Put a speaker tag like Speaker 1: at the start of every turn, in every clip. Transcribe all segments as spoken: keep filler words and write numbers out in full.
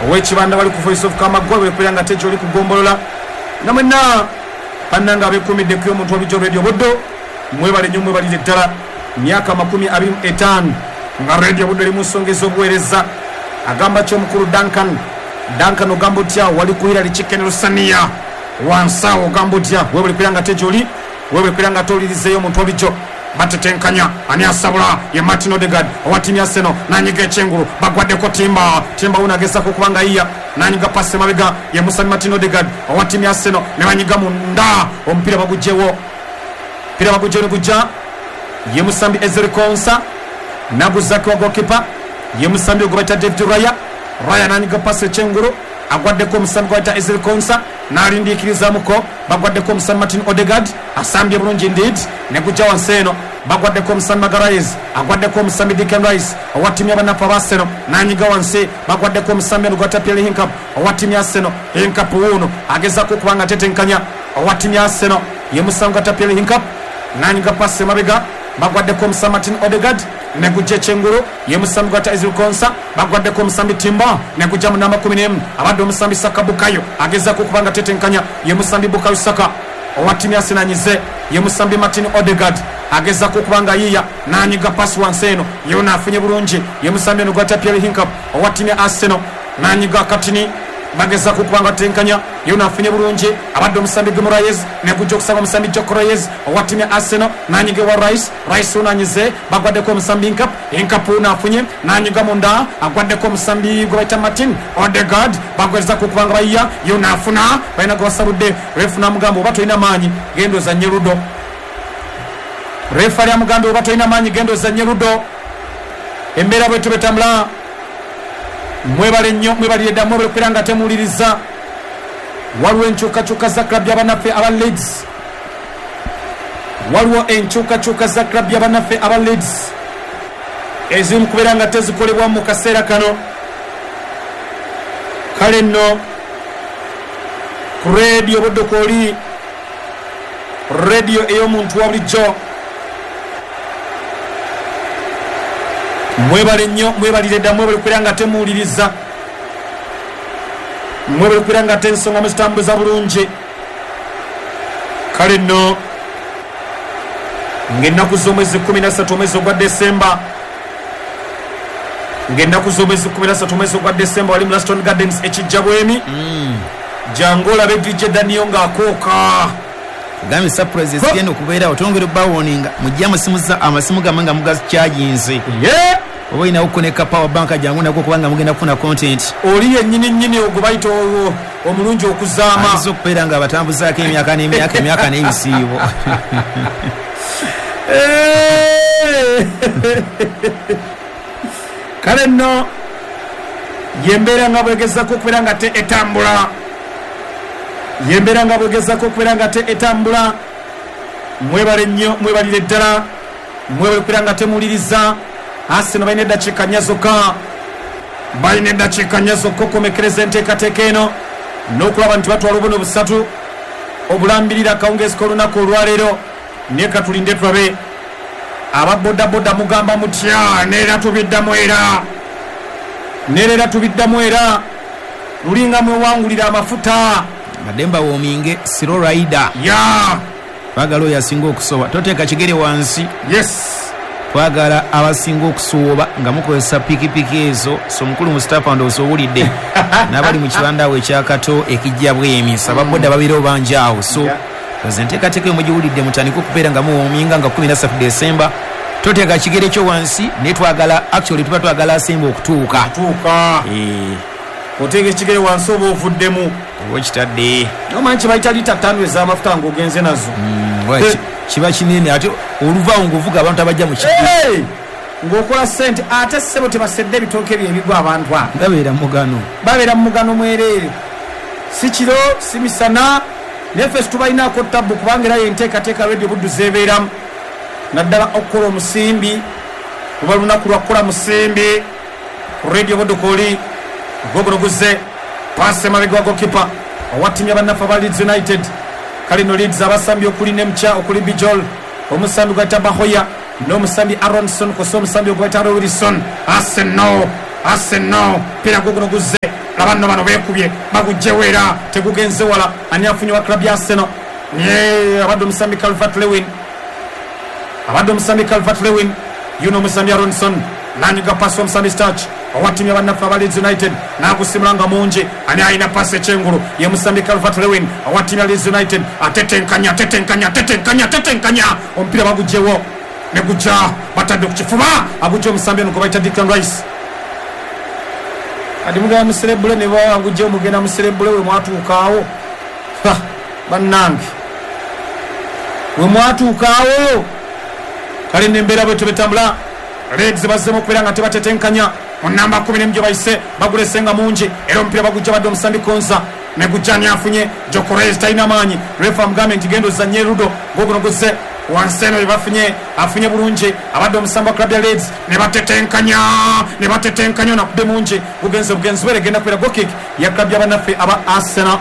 Speaker 1: Ow'ekibanda wali ku Voice of Kamagwa wekubeera nga tejo oli kugombolola nga mwenna bannange abeekuumidde ku y'omuntu wabijjo Radio Buddo, mwebale nnyo, mwebalire ddala. Myaka makumi abiri mu etaano nga Radio Buddo eri mu nsonga ez'obuweereza. Agamba ki omukulu Duncan? Duncan ogamba otya? Wali ku Hillary Chicken Lusaniya wansi awo, ogamba otya? Webale kubeera nga tejo oli, webale kubeera nga towulirizeeyo omuntu wabijjo. Batetenkanya, ani asabula? Ye Martin Odegaard owa ttiimu ya Arsenal, nanyiga ekyengulu, bagwaddeko Timba. Timba wuno agezaako okuba nga yiya, nanyiga pasi emabega, ye Musambi Martin Odegaard owa ttiimu ya Arsenal, ne banyiga munda, omupiira bagugyewo, omupiira bagugyewo ne gujja ye Musambi Ezri Konsa, naguzako wa goalkeeper ye Musambi ogwo bayita David Raya. Raya nanyiga pasi ekyengulu, agwaddeko omusambi gwe bayita Ezri Konsa, n'alindiikirizamuko, bagwaddeko omusambi Martin Odegaard, asambye bulungi indeed, ne gujja wansi eno, bagwaddeko omusambi Magalhaes, agwaddeko omusambi Declan Rice owa ttiimu y'abanafu aba Arsenal, n'anyiga wansi, bagwaddeko omusambi ono gwata Pierre Hincap owa ttiimu ya Arsenal. Hincap wuuno agezaako okuba nga atetenkanya owa ttiimu ya Arsenal, ye musambi gwata Pierre Hincap, n'anyiga pasi emabega, bagwaddeko omusambi Martin Odegaard, ne gujja ekyengulu ye musambi gwata Ezri Konsa, bagwaddeko omusambi Timba, ne gujja mu namba kumi n'emu abadde omusambi Saka Bukayo, agezaako okuba nga atetenkanya ye musambi Bukayo Saka owa ttiimu ya Arsenal, anyize ye musambi Martin Odegaard, agezaako okuba nga yiya, n'anyiga pasi wansi eno, yona afunye bulungi ye musambi eno gwata Pierre Hincap owa ttiimu ya Arsenal, n'anyiga akatini, bagezaako okuba nga atenkanya, yona afunye bulungi abadde omusambi Guimaraes, ne gujja okusanga omusambi Gyökeres owa ttiimu ya Arsenal, n'anyiga ewa Rice. Rice ono anyize, bagwaddeko omusambi Hincap. Hincap ono afunye, n'anyiga munda, agwaddeko omusambi gwe bayita Martin Odegaard, bagwezaako okuba nga bayiya, yona afuna, balina gwe basabudde. Refu n'amugamba, oba tolina maanyi genda ozanye ludo. Refu ali amugambye, oba tolina maanyi genda ozanye ludo. Embeera bwetyo betambula. Mwebale nnyo, mwebalire dda, mwebale kubeera nga temuwuliriza. Waliwo enkyukakyuka za club y'abannaffe aba Leeds, waliwo enkyukakyuka za club y'abannaffe aba Leeds eziri mu kubeera nga tezikolebwa mu kaseera kano. Kale nno ku Radio Buddo kwoli, radio ey'omuntu wa bulijjo, mwebale nnyo, mwebalire dda, mwebale kubeera nga temuwuliriza, mwebale kubeera nga ensonga muzitambuza bulungi. Kale nno ng'ennaku z'omwezi kumi na ssatu omwezi ogwa Desemba, ng'ennaku z'omwezi kumi na ssatu omwezi ogwa Desemba, wali mu Laston Gardens ekijja bwemi, jangu olabe D J Daniel ng'akooka.
Speaker 2: Gambye surprise ezigenda okubeerawo, twongere obbawoninga, mujje amasimu za amasimu gammwe nga mugakyajinze.
Speaker 1: Ye
Speaker 2: oba olinawo koneka power bank, jangu nako kubanga mugenda kufuna content.
Speaker 1: Oli yennyini nnyini ogwo bayita olwo omulungi okuzaama.
Speaker 2: Ayinza okubeera nga abatambuzaako emyaka n'emyaka, emyaka n'ebisiibo.
Speaker 1: Eh! Kale nno yembeera nga bwegezako okubeera nga te etambula, yembeera nga bwegezako okubeera nga te etambula. Mwebale nnyo, mwebalire ddala, mwebale okubeera nga temuwuliriza. Arsenal balina eddakiika nnya zokka, balina eddakiika nnya zokka okukomekereza enteekateeka eno n'okulaba nti batwala obuno busatu obulambirira akawungeezi k'olunaku olwaleero. Naye katulinde tulabe. Ababodaboda mugamba mutya? Neera tubiddamu era, neera tubiddamu era, lulinga mwewangulira amafuta.
Speaker 2: Badde mbawoominge slow rider.
Speaker 1: Ya
Speaker 2: twagala oyo asinga okusoba, toteeka kigere wansi.
Speaker 1: Yes
Speaker 2: twagala abasinga okusooba nga mukozesa pikipiki ezo. So mukulu Mustapha, ndowooza owulidde n'abali mu kibanda awo ekyakato ekijja bwemi, so ababoda babirewo bangi awo. So
Speaker 1: Yeah.
Speaker 2: oze enteekateeka eyo mugiwulidde, mutandike okubeera nga muwoominga nga kumi na ssatu Desemba, toteeka kigere kyo wansi, naye twagala, actually tuba twagala asemba okutuuka.
Speaker 1: Tuuka.
Speaker 2: Eh,
Speaker 1: oteeka ekigere wansi oba ovuddemu.
Speaker 2: Oba okitadde.
Speaker 1: Nomanyi kibayita lita ttaano ez'amafuta ng'ogenze nazo.
Speaker 2: Mm, wa- ki- kiba kinene, ate oluvaawo ng'ovuga abantu abajja mu kigo.
Speaker 1: Hey! Ng'okola ssente, ate ssebo tebasedde ebitooke bye ebigwa abantu abo.
Speaker 2: Babeera mugano.
Speaker 1: Babeera mu mugano mwereere, si kiro si misana, naye ffe situbalinaako tabbu, kubanga era yenteekateeka Radio Buddu zeebeeramu, naddala okukola omusimbi, luba lunaku lwakukola musimbi ku Radio Buddu. Kwoli gwoguno guzze paasi emabega wa gokipa owa ttiimu y'abannaffe aba Leeds United. Kale no Leeds abasambi okuli Nemcha, okuli Bijol, omusambi gwayita Bahoya n'omusambi Aronson, kosa omusambi ogwayita Wilson. Arsenal, Arsenal, pira guguno guzze. Laba nno bano beekubye, bagugjewo era tegugenze wala. Ani afunye wa club ya Arsenal? Ye abadde omusambi Calvert Lewin, abadde omusambi Calvert Lewin, yuno omusambi Aronson nanyiga pasi omusambi Starch owa ttiimu y'abannaffe aba Leeds United, n'agusimula nga mungi. Ani alina pasi ekyengulu? Ye musambi Calvert Lewin owa ttiimu ya Leeds United, atetenkanya atetenkanya atetenkanya atetenkanya, omupiira bagugjewo ne gujja batadde ku kifuba, agujja omusambi ono gwe bayita Declan Rice. Kati mugenda muserebule ne bawangujjewo, mugenda muserebule we mwatuukaawo. Bannange we mwatuukaawo. Kale nembeera bwetyo betambula. Leeds bazzemu okubeera nga tebatetenkanya mu namba kumi n'emu gye bayise, bagulese nga mungi era omupiira bagujja badde omusambi Konza ne gujja ani afunye? Gyökeres talina maanyi, refa amugambe nti genda ozannye Ludo, gwoguno guzze wansi eno bye bafunye, afunye bulungi abadde omusambi wa club ya Leeds, ne batetenkanya ne batetenkanya, nakubbe mungi, gugenze bugenzi bwere, genda kubeera goal kick ya club y'abannaffe aba Arsenal.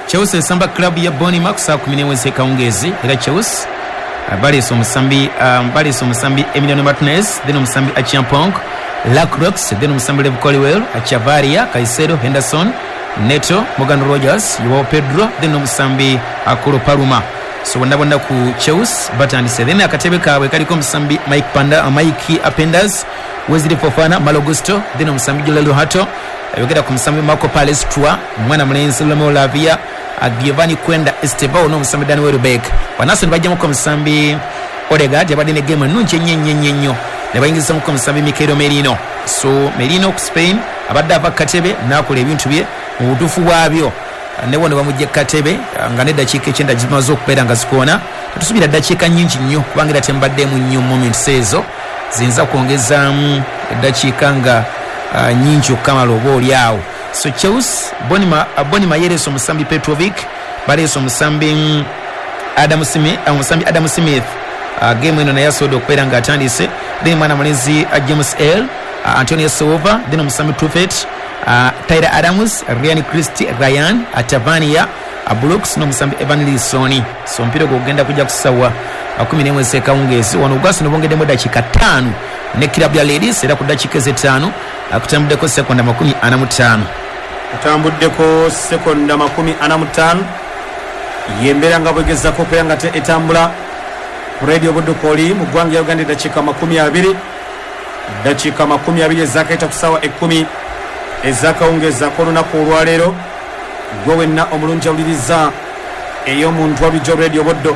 Speaker 2: Chelsea esamba club ya Bournemouth saa kumi n'emwe ez'ekawungeezi, era Chelsea baleese omusambi um, baleese omusambi Emiliano Martinez, then omusambi Acheampong, Lacroix, then omusambi Lev Colwill, Chavaria, Caicedo, Henderson, Neto, Morgan Rogers, Joao Pedro, then omusambi Akolo Paluma. So bonna bonna ku Chelsea batandise. Then akatebe kaabwe kaliko omusambi Mike Panda, Mike Appenders, Wesley Fofana, Malo Gusto, then omusambi Jorrel Hato, yogera ku musambi Marco Palestra, mwana mulenzi Romeo Lavia, Giovanni Kwenda Estevao n'omusambi Daniel Welbeck. Banaso ne bajjamuko omusambi Odegaard, yabadde ne game ennungi ennyo ennyo ennyo ennyo, ne bayingizamuko omusambi Mikel Merino. So Merino ku Spain abadde ava katebe n'akola ebintu bye mu butuufu bwabyo, ne wano bamugye katebe nga n'eddakiika ekyenda zimaze okubeera nga zikoona. Tetusubira ddakiika nnyingi nnyo kubanga era tembaddemu nnyo moments ezo ziyinza kwongezaamu eddakiika nga uh, nnyingi okukamala oba oli awo. So Chelsea Bonima, Bonima yereese omusambi Petrovic, baleese omusambi Adam Smith, omusambi Adam Smith. Uh, game eno naye asobodde okubeera ng'atandise. Then mwana mulenzi uh, James L, uh, Antonio Silva, then omusambi Truffet, uh, Tyler Adams, Ryan Christie, Ryan Atavania, uh, Brooks n'omusambi Evan Lisoni. So omupiira ogwo gugenda kujja kusawa kumi n'emwe ez'ekawungeezi. Wano ogwaso ne bongeddemu eddakiika ttaano ne club ya Ladies, era ku ddakiika ez'ettaano akutambuddeko sekonda makumi ana mu ttaano,
Speaker 1: atambuddeko sekonda makumi ana mu ttaano. Yembeera nga bwegezako okubeera nga etambula ku Radio Budukoli mu ggwanga lya Uganda. Eddakiika makumi abiri, eddakiika makumi abiri ezakaita ku ssaawa ekkumi ezakawungeezi ak'olunaku olwaleero. Gwe wenna omulungi awuliriza ey'omuntu walijjo Radio Buddo,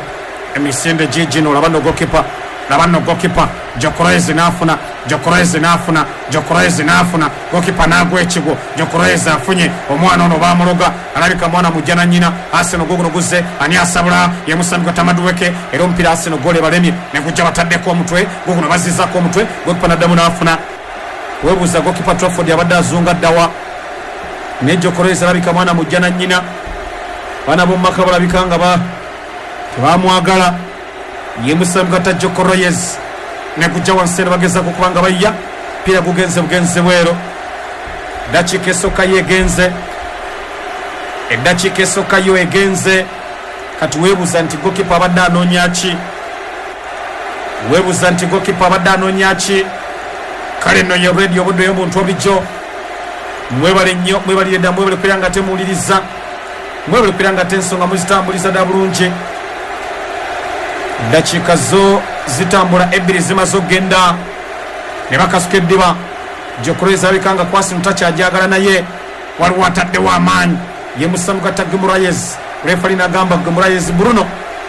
Speaker 1: emisinde giigino. Laba nno gokipa, laba nno gokipa Gyökeres n'afuna, Gyökeres n'afuna, Gyökeres n'afuna, gokipa n'agwa ekigwo. Gyökeres afunye omwana ono bamuloga, alabika mwana mujja na nnyina. Arsenal guguno guzze, ani asabula? Ye musambi gwa Tamaduweke, era omupiira Arsenal gole balemye ne gujja bataddeko omutwe, guguno bazizzaako omutwe, gokipa n'addamu n'afuna. Weebuuza gokipa Trafford abadde azunga ddawa, ne Gyökeres alabika mwana mujja na nnyina. Baana b'omu maka balabika nga ba tebamwagala. Ye musambi gwa Gyökeres ne gujja wansi eno bagezaako okuba nga bayya piira, gugenze bugenze bwero. Eddakiika esooka yo egenze, eddakiika esooka yo egenze. Kati weebuuza nti gokipa abadde anoonya ki? Weebuuza nti gokipa abadde anoonya ki? Kale nno ye Radio Buddo y'omuntu obulijjo. Mwebale nnyo, mwebalire dda, mwebale kubeera nga temuwuliriza, mwebale kubeera nga tensonga muzitambuliza dda bulungi. Eddakiika zo zitambula ebbiri zimaze okugenda ne bakasuka eddiba. Gyökeres alabika nga kwasi mutakyajagala, naye waliwo ataddewo amaanyi, ye musambi gwa Guimaraes. Refali n'agamba Guimaraes Bruno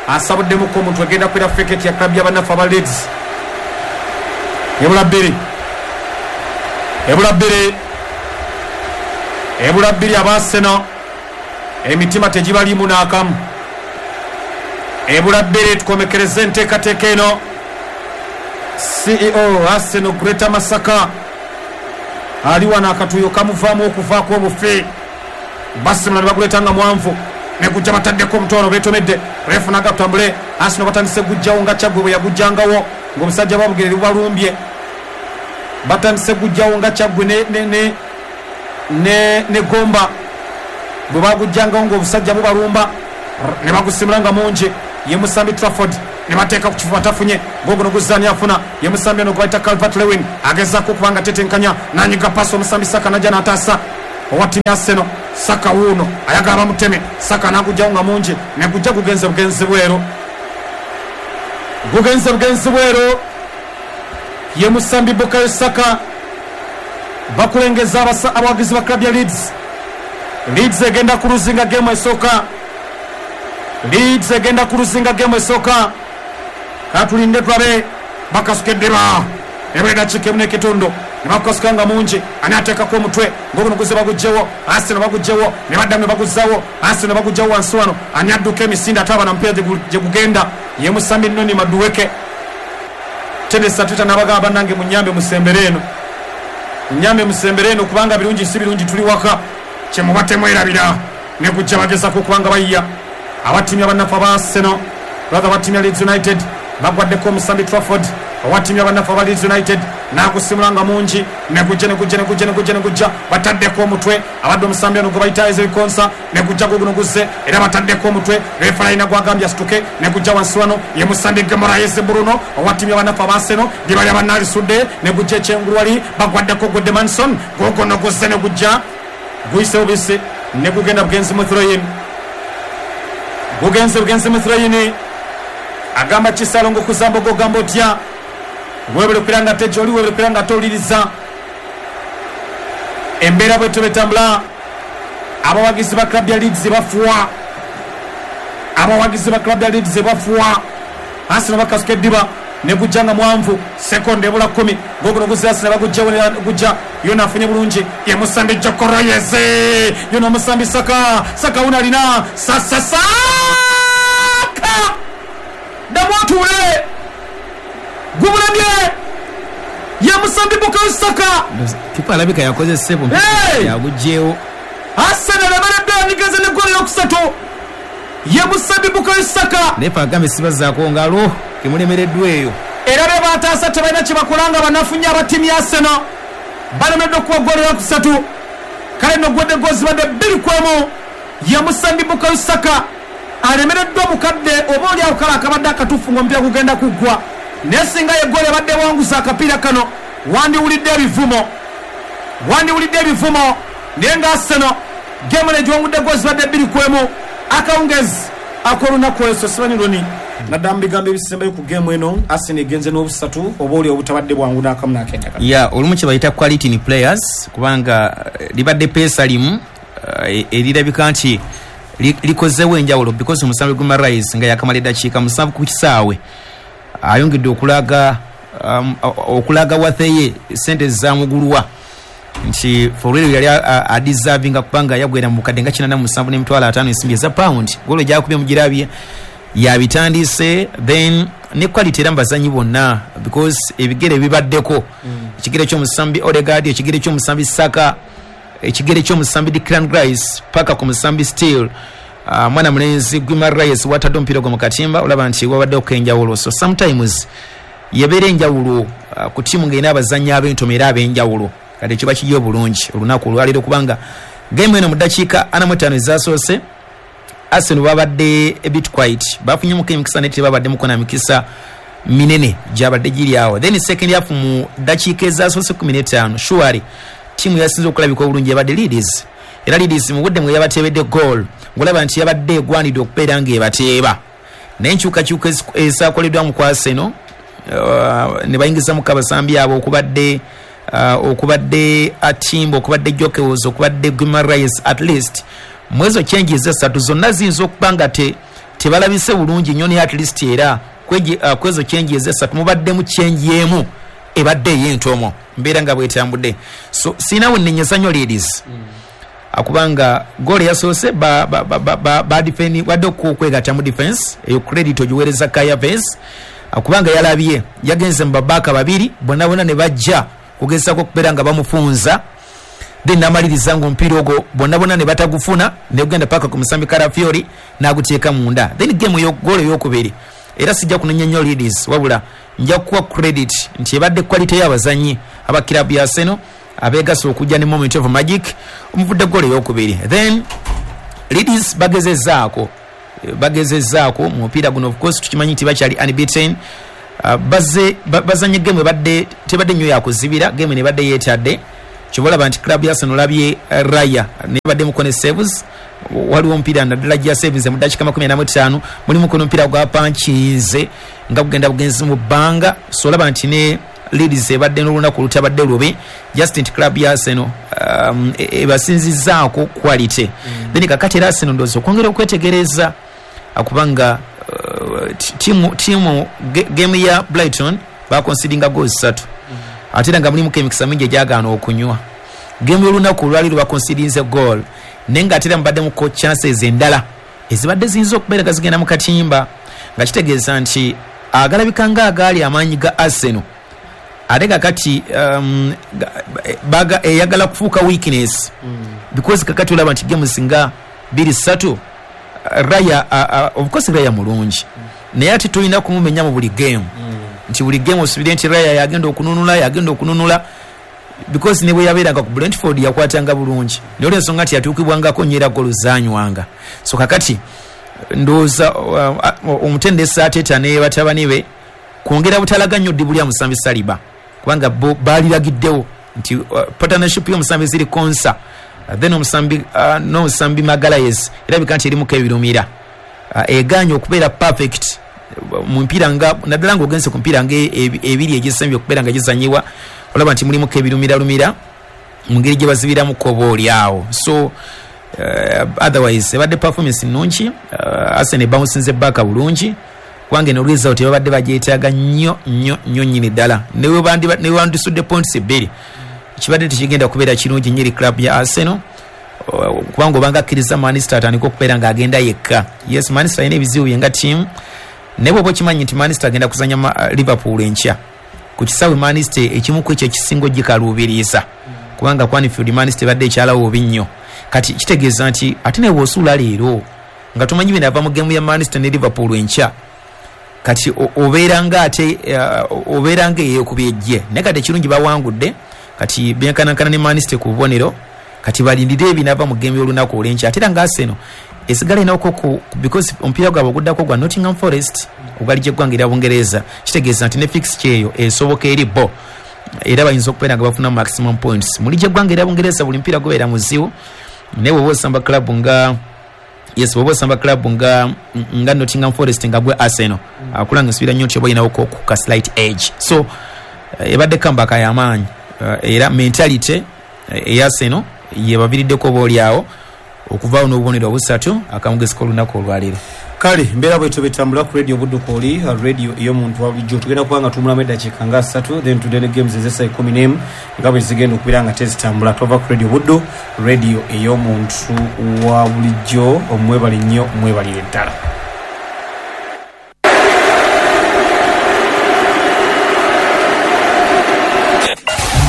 Speaker 1: asabuddemuko omuntu, agenda kubeera free kick ya club y'abannaffe aba Leeds. Ebula bbiri, ebula bbiri, ebula bbiri. Aba Arsenal emitima tegibaliimu n'akamu. Ebula bbiri tukomekereze enteekateeka eno. C E O Arsenal Greater Masaka ali wano, akatuuyo kamuvaamu okuvaako obufi. Basimula ne baguleeta nga mwanvu, ne gujja bataddeko omutono beetomedde. Refu n'agatambule, Arsenal batandise gujjawo nga Kyaggwe bwe yagujjangawo ng'omusajja babugerere bubalumbye. Batandise gujjawo nga Kyaggwe ne, ne, ne, ne, ne Gomba bwe bagujjangawo ng'obusajja bubalumba, ne bagusimula nga mungi. Ye musambi Trafford ne bateeka ku kifuba, tafunye gogono guzzaani afuna. Ye musambi ono gwe bayita Calvert Lewin agezaako okuba nga tetenkanya, nanyiga paasi omusambi Saka najja n'ataasa. Owa ttiimu ya Arsenal Saka wuuno ayagala bamuteme. Saka n'agugjawo nga mungi, ne gujja gugenze bugenzi bweru, gugenze bugenzi bweru. Ye musambi Bukayo Saka. Bakulengeza abawagizi ba club ya Leeds. Leeds egenda kuluzinga gemu esooka. Leeds egenda kuluzinga gemu esooka. Katulinde tulabe bakasukeddeba ebula dakiika emu n'ekitundu ne bakukasuka nga mungi. Ani ateekako omutwe ng'oguno guze bagugjewo. Arsenal bagugjewo ne baddamu ne baguzzawo. Arsenal bagugjawo wansi wano. Ani adduka emisinde ate aba na mupiira gye gugenda? Ye musambi Noni Madueke. Tedesa Twitter n'abagamba bannange munyambe musembere eno, munyambe musembere eno kubanga birungi si birungi, tuli waka kyemuba temwerabira. Ne gujja bagezako okubanga bayiya abattiimu abannaffe aba Arsenal, rather abattiimu ya Leeds United bagwaddeko omusambi Trafford. Owa ttiimu y'abannaffe aba Leeds United n'agusimula nga mungi, ne gujja ne gujja ne gujja ne gujja ne gujja bataddeko omutwe. Abadde omusambi ono gwe bayita Ezri Konsa, ne gujja guguno guzze era bataddeko omutwe. Refa alina gwagambye asituke, ne gujja wansi wano ye musambi Guimaraes Bruno owa ttiimu y'abannaffe aba Arsenal. Dibali abannalisudde ne gujja ekyengulu wali bagwaddeko Goodmanson, guguno guzze ne gujja guyise bubisi ne gugenda bugenzi mu throw-in, gugenze bugenzi mu throw-in. Agamba Kisalongo kuzamba ogamba otya? Webale okubeera nga tejoli, webale okubeera nga towuliriza embeera bwetyo betambula. Abawagizi ba club ya Leeds bafuwa, abawagizi ba club ya Leeds bafuwa. Arsenal bakasuka eddiba ne gujja nga mwanvu, sekonde ebula kkumi. Goguno guzze Arsenal bagujjawo ne gujja yona afunye bulungi. Ye musambi Gyökeres, yona omusambi Saka. Saka wuno alina sasa Saka ddamu otuule gumulemye. Ye musambi Bukayo Saka.
Speaker 2: Kipa alabika yakoze sebo yagugyewo.
Speaker 1: Arsenal emereddwa yanigeze ne ggoolo eyokusatu. Ye musambi Bukayo Saka.
Speaker 2: Naye agambe sibazaako ngalo kemulemereddwa eyo.
Speaker 1: Era be bataasa tebalina kye bakola nga banafu nnyo aba ttiimu ya Arsenal balemeddwa okuwa ggoolo eyokusatu. Kale nno gwadde ggoolo zibadde bbiri ku emu. Ye musambi Bukayo Saka alemereddwa mukadde oba oli awo kale akabadde akatuufu ng'omupiira gugenda kuggwa, naye singa ye ggoolo ebadde ewanguza akapiira kano wandiwulidde ebivumo, wandiwulidde ebivumo. Naye nga Arsenal gemu negiwangudde ggoolo zibadde bbiri ku emu. Akawungezi ak'olunaku olwo simanyi loni naddala mu bigambo ebisembayo ku gemu eno, Arsenal egenze n'obusatu oba oli obutabadde bwangu n'akamu n'akendakano.
Speaker 2: Ya olumu kye bayita quality in players, kubanga libadde peesa limu erirabika nti likozeewo enjawulo because omusambi Guimaraes nga yakamala eddakiika musanvu ku kisaawe ayongedde okulaga um, okulaga watheye sente zamugulwa nti for real yali adeservinga kubanga yagwera mu bukadde nga kinaana mu musanvu n'emitwalo ataano ensimbi eza pound. Golo gyakubye mugirabye yabitandise, then ne quality era mu bazanyi bonna because ebigere bibaddeko ekigere ky'omusambi Odegaard, ekigere ky'omusambi Saka, ekigere ky'omusambi Declan Rice paka ku musambi Steele. Uh, mwana mulenzi Guimaraes watadde omupiira gwe mu katimba, olaba nti wabadde okwenjawulo. So sometimes yebeera enjawulo uh, ku ttiimu ng'erina abazannyi ab'entomo era ab'enjawulo. Kati kiba kiri obulungi olunaku olwaleero kubanga game eno mu ddakiika ana mu ttaano ezaasoose Arsenal babadde a bit quiet, bafunyemuko emikisa naye tebabaddemuko na mikisa minene gyabadde giri awo. Then second half mu ddakiika ezaasoose kkumi n'ettaano surely ttiimu yasinze okulabika obulungi yabadde Leeds. Era Leeds mu budde mwe yabateebedde goal ng'olaba nti yabadde egwanidde okubeera ng'ebateeba, naye enkyukakyuka ezaakoleddwa mu ku Arsenal uh, ne bayingizamuko abasambi abo okubadde uh, okubadde Atimbo, okubadde Gyökeres, okubadde Guimaraes. At least mwezo changes esatu zonna ziyinza okuba nga te tebalabise bulungi nnyo, naye at least era kwezo uh, changes esatu mubaddemu change emu ebadde ey'entomo mbeera nga bwetambudde. So sinawo nnenyeza nnyo Leeds mm. akubanga goal yasoose ba ba ba ba, ba defend wadde okwegatta mu defense eyo credit ogiweereza Kai Havertz akubanga yalabye yagenze mu babaka babiri bonna bonna ne bajja kugezaako okubeera nga bamufunza, then namaliriza ng'omupiira ogwo bonna bonna ne batagufuna ne gugenda paka ku musambi Calafiori n'aguteeka munda. Then game yo goal ey'okubiri era sijja kunenya nnyo Leeds, wabula nja kuwa credit nti ebadde quality y'abazannyi aba club ya Arsenal abeegasa okujja ne moment of magic omuvudde goal ey'okubiri. Then Leeds bagezezaako bagezezaako mu mupiira guno, of course tukimanyi nti bakyali unbeaten. Uh, bazze bazanye game ebadde tebadde nnyo yakuzibira, game nebadde yeetadde Kyobalaba nti club ya Arsenal olabye Raya nebadde mukone saves, waliwo omupiira naddala gya saves mu ddakiika makumi ana mu ttaano, mulimu kuno omupiira gwa panchinze nga gugenda bugenzi mu bbanga. So olaba nti ne Leeds ebadde n'olunaku olutabadde lubi, just nti club ya Arsenal um, ebasinzizzaako quality. Mm. Then kakati era Arsenal ndowooza okwongera okwetegereza akubanga uh, timu, timu game ya Brighton bakonsidinga goals ssatu. Mm. Ate era nga mulimu emikisa mingi egyagaana okunywa. Game y'olunaku olwaleero bakonsidinze goal, naye nga ate era mubaddemuko chances endala ezibadde ziyinza okubeera nga zigenda mu katimba, nga kitegeeza nti agalabika nga agaali amaanyi ga Arsenal ate kakati um, baga eyagala kufuuka weakness. Mm. Because kakati olaba nti games nga bbiri ssatu Raya, uh, uh, of course Raya mulungi. Mm. Naye ate tulina kumumenya mu buli game. Mm. Nti buli game osubire nti Raya yagenda okununula yagenda okununula, because ne bwe yabeeranga ku Brentford yakwatanga bulungi, naye olw'ensonga nti yatuukibwangako nnyo era ggoolo zaanywanga. So kakati ndowooza uh, omutendesi Arteta ne batabani be kwongera butalaga nnyo ddibu lya musambi Saliba, kubanga bo baaliragiddewo nti uh, partnership y'omusambi ziri Konsa, uh, then omusambi uh, n'omusambi Magalhaes erabika nti erimuko ebirumira, uh, egaanye okubeera perfect mu mpiira nga naddala ng'ogenze ku mpiira nga ebiri egisembye okubeera nga gizanyibwa, olaba nti mulimuko ebirumiralumira mu ngeri gye bazibiramu koba oli awo. So uh, otherwise ebadde performance nnungi. uh, Arsenal ebawunsinze baaka bulungi, kubanga eno result babadde bagyetaaga nnyo nnyo nnyo nnyini ddala. Ne we bandisudde points bbiri kibadde tekigenda kubeera kirungi nnyo eri club ya Arsenal, kubanga obanga akkiriza Manchester atandika okubeera ng'agenda yekka. Yes, Manchester alina ebizibu bye nga ttiimu, naye bw'oba okimanyi nti Manchester agenda kuzannya Liverpool enkya ku kisaawe Manchester ekimu ku ekyo ekisinga ogikaluubiriza, kubanga ku Anfield Manchester ebadde ekyalawo bubi nnyo. Kati kitegeeza nti ate naye bw'osuula leero nga tomanyi binaava mu geemu ya Manchester ne Liverpool enkya, kati obeera nga ate uh, obeera nga eyeekubye ejje. Naye kati ekirungi bawangudde, kati byenkanankana ne Manchester ku bubonero, kati balindire ebinaava mu geemu y'olunaku olw'enkya. Ate era nga Arsenal esigala inako ku because omupiira gwabwe oguddako gwa Nottingham Forest ogwali gy'eggwanga erya Bungereza, kitegeeza nti ne fixture eyo esoboka eri bo, era bayinza okubeera nga bafuna maximum points. Muli gy'eggwanga erya Bungereza buli mupiira gubeera muzibu, naye bw'oba osamba club nga yes bw'oba osamba club nga nga Nottingham Forest nga gwe Arsenal, akulanga nsubira nnyo nti oba olinawo ku ka slight edge. So ebadde comeback y'amaanyi, era mentality eya Arsenal yebaviiriddeko oba oli awo okuvaawo n'obubonero obusatu akamugezi k'olunaku olwaleero.
Speaker 1: Kale mbeera bwetyo betambula ku radio Buddu kwoli radio ey'omuntu wa bulijjo. Tugenda kuba nga tumulamu eddakiika nga ssatu, then tudde ne games ez'essaawa ekkumi n'emu nga bwe zigenda okubeera nga tezitambula. Tova ku radio Buddu, radio ey'omuntu wa bulijjo. Omwebale nnyo, mwebalire ddala.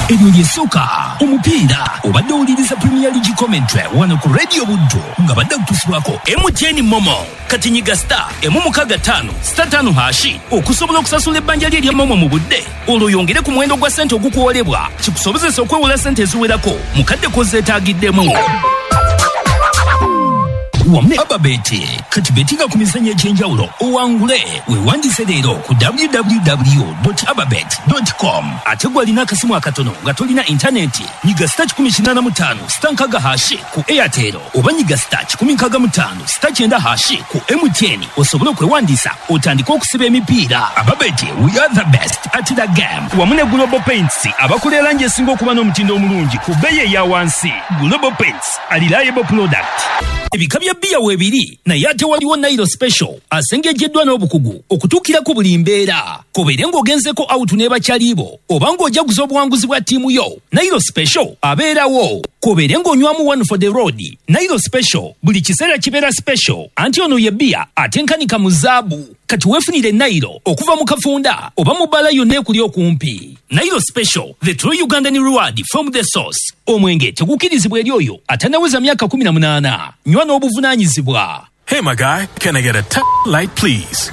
Speaker 3: Eryo ly'esooka omupiira obadde owuliriza Premier League commentary wano ku Radio Buddu nga badde kutusibwako M T N Momo. Kati nyiga star emu mukaaga ttaano star ttaano hashi okusobola okusasula ebbanja lye erya Momo mu budde, olwo oyongere ku muwendo gwa ssente ogukuwolebwa kikusobozesa okwewola ssente eziwerako mu kadde k'ozeetaagiddemu. Wamu ne Ababeti kati betinga ku mizannyo egy'enjawulo owangule. Weewandiise leero ku w w w dot ababet dot com. Ate gwe alina akasimu akatono nga tolina intaneti, nyiga star kikumi kinaana mu ttaano star nkaaga hashi ku Airtel oba nyiga star kikumi nkaaga mu ttaano star kyenda hashi ku M T N osobole okwewandiisa otandike okusiba emipiira. Ababeti, we are the best at the game. Wamu ne Global Paints abakola erangi esinga okuba n'omutindo omulungi ku bbeeyi eya wansi. Global Paints, a reliable product. Ebika bya bbiya weebiri, naye ate waliwo Nairo Special asengejjeddwa n'obukugu okutuukira ku buli mbeera. Kobeere ng'ogenzeko out ne bakyalibo oba ng'ojaguza obuwanguzi bwa ttiimu yo, Nairo Special abeerawo. Kobeere ng'onywamu one for the road, Nairo Special buli kiseera kibeera special, anti ono ye bbiya atenkanika mu zaabu. Kati weefunire Nairo okuva mu kafunda oba mu bbaala yonna ekuli okumpi. Nairo Special, the true Ugandan reward from the source. Omwenge tegukkirizibwa eri oyo atannaweza myaka kumi na munaana. Nywa n'obuvunaanyizibwa.
Speaker 4: Hey, my guy, can I get a t- light, please?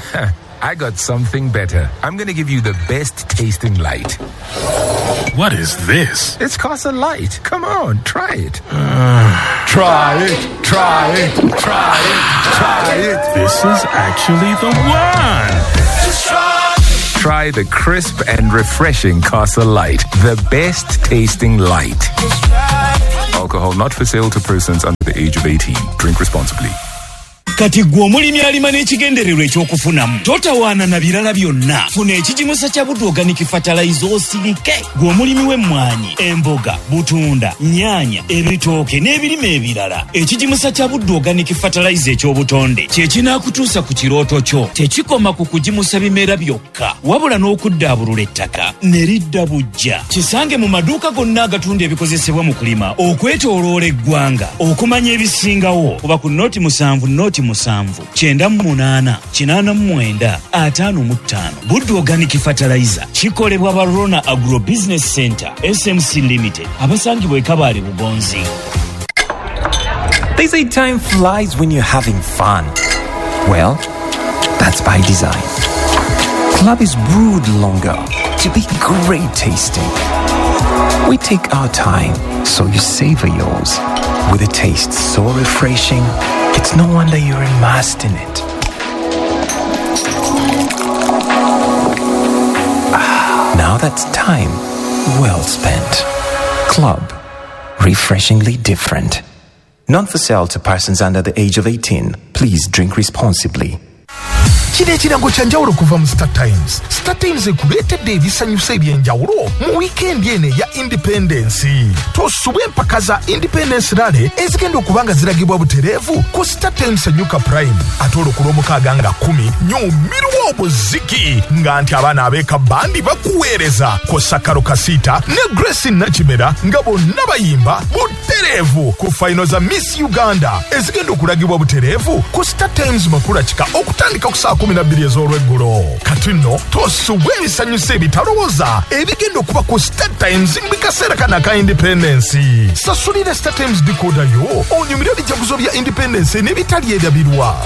Speaker 5: I got something better. I'm going to give you the best tasting light.
Speaker 4: What is this?
Speaker 5: It's Casa Light. Come on, try it.
Speaker 4: Uh,
Speaker 5: try it, try it, try it, try it.
Speaker 4: This is actually the one.
Speaker 6: Just try it.
Speaker 5: Try the crisp and refreshing Castle Light, the best tasting light. Alcohol not for sale to persons under the age of eighteen. Drink responsibly.
Speaker 3: Kati gwe omulimi alima n'ekigendererwa ekyokufunamu, totawaana na birala byonna. Funa ekigimusa kya Buddu Organic Fertilizer osirike. Gwe omulimi w'emmwanyi, emboga, butunda, nnyaanya, ebitooke n'ebirime ebirala, ekigimusa kya Buddu Organic Fertilizer eky'obutonde kye kinaakutuusa ku kirooto kyo. Tekikoma ku kugimusa bimera byokka, wabula n'okuddaabulula ettaka ne lidda buggya. Kisange mu maduuka gonna agatunda ebikozesebwa mu kulima okwetooloola eggwanga. Okumanya ebisingawo kuba ku noti musanvu noti musanvu kyenda mu munaana kinaana mu mwenda ataano mu ttaano. Buddu Organic Fertilizer kikolebwa ba Rona Agro Business Center S M C Limited, abasangibwa e Kabale Bugonzi.
Speaker 6: They say time flies when you're having fun. Well, that's by design. Club is brewed longer to be great tasting. We take our time so you savor yours. With a taste so refreshing, it's no wonder you're immersed in it. Ah, now that's time well spent. Club, refreshingly different. Not for sale to persons under the age of eighteen. Please drink responsibly.
Speaker 7: Kino ekirango kya njawulo kuva mu Star Times. Star Times ekuleetedde ebisanyusa eby'enjawulo mu wiikendi eno eya Independence. Tosubwa empaka za Independence Rally ezigenda okuba nga ziragibwa butereevu ku Star Times Enyuka Prime. Ate olwo ku Lwomukaaga nga kkumi nyumirwa obuziki nga nti abaana ab'eka bandi bakuweereza kw'ossa Karo Kasita ne Grace Nakimera nga bonna bayimba butereevu ku fayino za Miss Uganda ezigenda okulagibwa butereevu ku Star Times Makula Kika okutandika ku saa kumi na bbiri ez'olweggulo. Kati nno tosubwa ebisanyusa ebitalowooza ebigenda okuba ku Star Times mu kaseera kano aka Independence. Sasulira Star Times decoder yo onyumire ebijaguzo bya Independence n'ebitali ebyabirwa.